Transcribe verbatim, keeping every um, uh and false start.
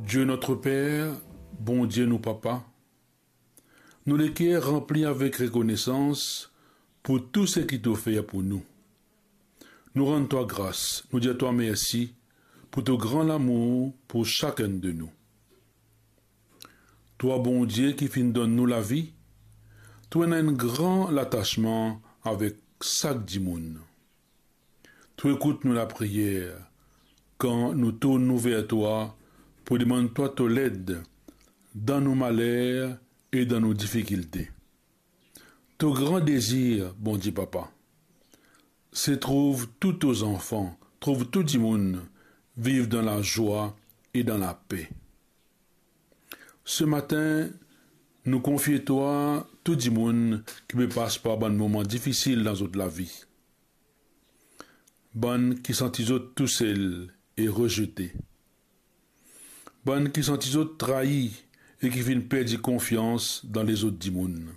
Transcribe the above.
Dieu notre Père, Bondie nou Papa, nou leker ranpli avek rekonesans pou tou seki to fer pou nou. Nou rann twa gras, nou dir twa mersi pou to gran lamour pou sakenn de nou. Twa Bondie ki finn donn nou lavi, to ena enn gran latasman avek sak dimoun. To ekout nou lapriyer kan nou tourn nou ver twa pou demann twa to led dan nou maler e dan nou difikilte. To gran dezir, Bondie Papa, se trouv tou to zanfan, trouv tou dimoun viv dan lazwa e dan lape. Se matin, nou konfie twa tou dimoun ki pe pas par bann moman difisil dan zot lavi. Bann ki santi zot tousel e rezete. Bann ki santi zot trayi e ki finn perdi konfians dan lezot dimoun.